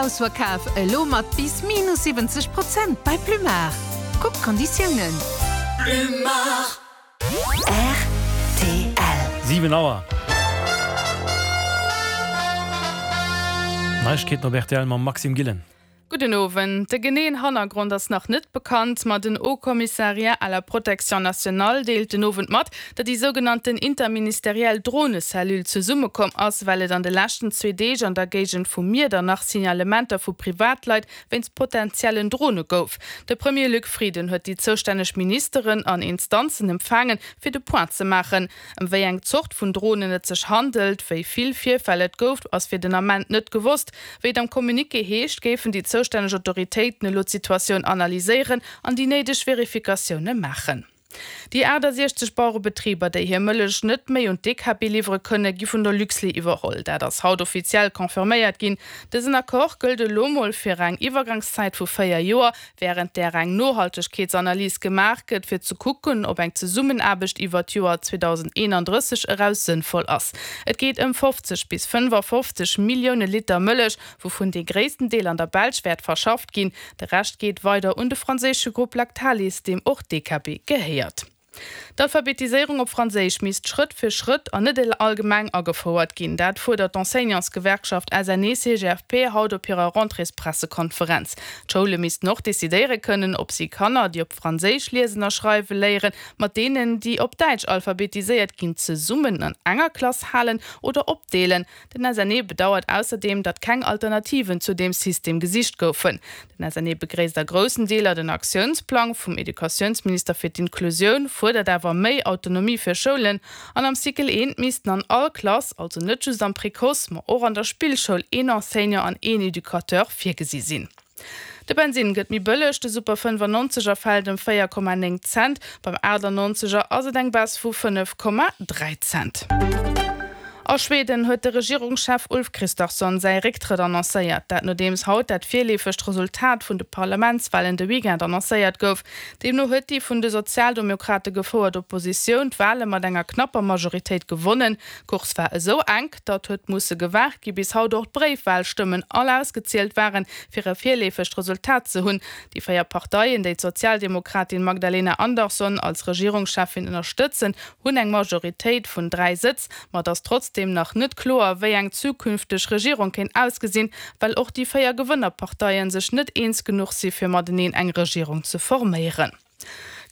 Ausverkaf elo mat bis minus 70 Prozent bei Plumard. Kuck d'Konditiounen. Plumard. Rtl. 7 Auer. Neiegkeeten op rtl mam Maxime Gillen. Gudden Owend. De geneeën Hannergrond ass nach net bekannt, ma den Haut Commissariat à la protection nationale deelt den Owend mat, datt déi sougenannten interministeriell Dronecellule zesummekomm ass, well et an de leschten zwee Deeg an der Géigend vu Miedernach Signalementer vu Privatleit wéinst potentiellen Drone gouf. De Premier Luc Frieden huet déi zoustänneg Ministeren an Instanzen empfaangen, fir de Point ze maachen. Ëm wéi eng Zort vun Dronen et sech handelt, wéi vill Virfäll et gouf, ass fir den Ament net gewosst. Wéi et am Communiqué heescht, géifen déi zoustänneg Autoritéiten elo d'Situatioun analyséieren an déi néideg Verifikatioune maachen. Déi 68 Bauerebetriber, déi hir Mëllech net méi un d'DKB liwwere kënne, gi vun der Luxlait iwwerholl. Dat ass haut offiziell confirméiert ginn. Dësen Accord gëllt elo mol fir eng Iwwergangszäit vu 4 Joer, wärend där eng Nohaltegkeetsanalys gemaach gëtt, fir ze kucken, ob eng Zesummenaarbecht iwwer d'Joer 2031 eraus sënnvoll ass. Et geet ëm 50 bis 55 Millioune Liter Mëllech, wouvun dee gréissten Deel an der Belsch wäert verschafft ginn. De Rescht geet weider un de franséische Grupp Lactalis, deem och DKB gehéiert. D'Alphabetiséierung op Franséisch misst Schrëtt fir Schrëtt an net allgemeng agefouert ginn. Dat fuerdert d'Enseignantsgewerkschaft SNE-CGFP haut op hirer Rentréespressekonferenz. D'Schoule missten och decidéiere kënnen, ob si Kanner, déi op Franséisch liesen a schreiwe léieren, mat deenen, déi op Däitsch alphabetiséiert ginn, zesummen an enger Klass halen oder opdeelen. Den SNE bedauert ausserdeem, datt keng Alternativen zu deem System gesicht goufen. Den SNE begréisst a groussen Deeler den Aktiounsplang vum Educatiounsminister fir d'Inklusioun, fuerdert awer méi Autonomie fir Schoulen. An am Cycle I missten an all Klass, also net just am Précoce, ma och an der Spillschoul, een Enseignant an een Educateur virgesi sinn. De Bensinn gëtt méi bëlleg, de Super 95 er fält ëm 4,9 Cent, beim 98 er ass et eng Baisse vu 5,3 Cent. A Schweden huet de Regierungschef Ulf Kristersson säi Récktrëtt annoncéiert. Dat nodeems haut dat virleefegt Resultat vun de Parlamentswalen de Weekend annoncéiert gouf. Deemno huet déi vun de Sozialdemokrate gefouert Oppositioun d'Wale mat enger knapper Majoritéit gewonnen. D'Course war esou enk, datt huet musse gewaart gi bis haut och d'Bréifwalstëmmen all ausgezielt waren, fir e virleefegt Resultat ze hunn. Déi 4 Parteien, déi d'Sozialdemokratin Magdalena Andersson als Regierungscheffin ënnerstëtzen, hunn eng Majoritéit vun 3 Sëtz. Ma et ass trotzdeem nach net kloer, wéi eng zukünfteg Regierung kéint ausgesinn, well och déi 4 Gewënnerparteie sech net eens genuch si fir mateneen eng Regierung ze forméieren.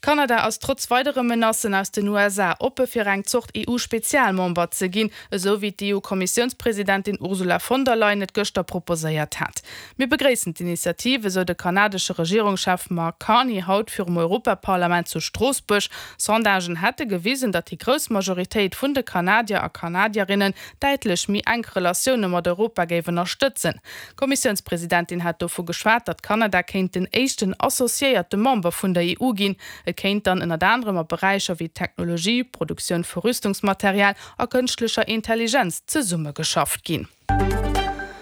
Kanada ass trotz weidere Menacen aus den USA oppe fir eng Zort EU-Spezialmember ze ginn, esou wéi d'EU-Kommissiounspresidentin Ursula von der Leyen et gëschter proposéiert hat. Mir begréissen d'Initiativ, esou de kanadesche Regierungschef Mark Carney haut virum Europaparlament zu Stroossbuerg. Sondagen hätte gewisen, datt déi grouss Majoritéit vun de Kanadier a Kanadierinnen däitlech méi enk Relatioune mat Europa géif ënnerstëtzen. D'Kommissiounspresidentin hat dovu geschwat, datt Kanada kéint den éischten associéierte Member vun der EU ginn. Et kéint dann ënnert anerem a Beräicher wéi Technologie, Produktioun vu Rüstungsmaterial a kënschtlecher Intelligenz zesummegeschafft ginn.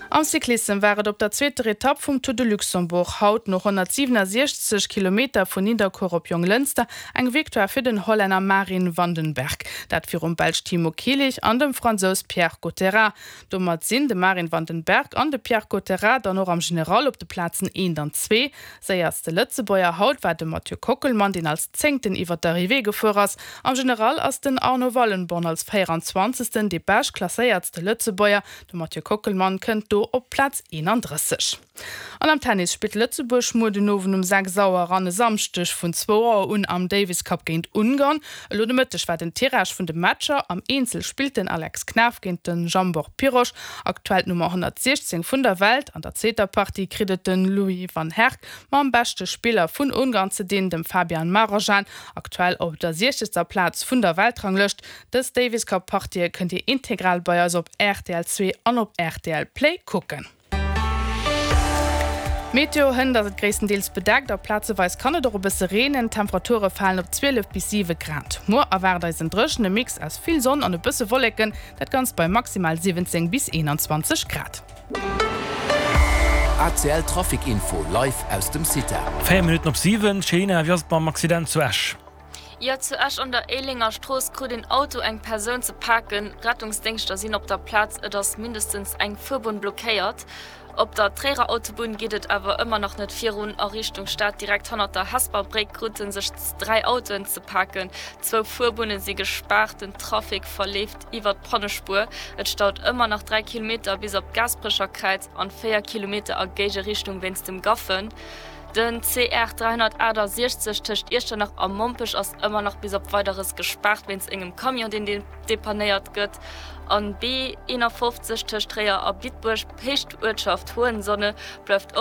Am Cyclissem war et op der zweeter Etapp vum Tour de Luxembourg haut no 167 Kilometer vun Nidderkuer op Jonglënster eng Victoire fir den Hollänner Marin Vandenberg, dat virum Belsch Timo Kielich an dem Fransous Pierre Gotterat. Domat sinn de Marin van den Berg an de Pierre Gotterat dann och am General op de Plazen eent an zwee. Séierste Lëtzebuerger haut war de Mathieu Kockelmann, deen als Zéngten iwwer d'Arrivée gefuer ass. Am General ass den Arno Wallenborn als 24. dee bescht klasséiertste Lëtzebuerger. De Mathieu Kockelmann kënnt do op d'Plaz 31. An am Tennis spillt Lëtzebuerg muer den Owend um 6 Auer an e Samschdeg vun zwou Auer un am Davis Cup géint Ungarn. Elo de Mëtteg war den Tirage vun de Matcher. Am Eenzel spillt den Alex Knaff géint de Zsombor Piros, aktuell d'Nummer 116 vun der Welt. An der zweeter Partie kritt et den Louis van Herck mam beschte Spiller vun Ungarn ze dinn, dem Fabian Marojan, aktuell op der siechzegster Plaz vun der Weltranglëscht. Dës Davis Cup Partië kënnt Dir integral bei eis op rtl 2 an op rtl Play kucken. Meteo, Hënt ass et gréisstendeels bedeckt a plazeweis kann et och e bësse reenen. D'Temperature falen op 12 bis 7 Grad. Muer erwaart eis en dréchene Mix aus vill Sonn an e bësse Wolleken, dat Ganzt bei maximal 17 bis 21 Grad. ACL Trafic Info live aus dem CITA. 4 Minutten op 7, Céline, wéi ass et mam Accident zu Esch? Jo, zu Esch an der Éilenger Strooss krut een Auto eng Persoun ze paken. Rettungsdéngschter sinn op der Plaz, et ass mindestens eng Fuerbunn blockéiert. Op der Tréierer Autobunn geet et awer ëmmer nach net virun a Richtung Stad. Direkt hannert der Hesper Bréck krute sech 3 Autoen ze paken. Zwou Fuerbunne si gespaart, den Trafic verleeft iwwer d'Pannespuer. Et staut ëmmer nach 3 Kilometer bis op d'Gaasperecher Kräiz an 4 Kilometer a Géigerichtung wéinst dem Gaffen. Den CR 368 tëscht Iechternach a Mompech ass ëmmer nach bis op Weideres gespaart wéinst engem Camion, deen depannéiert gëtt. An B 51 tëscht Tréier a Bitbuerg, Héicht Uertschaft Hohensonne, bleift och.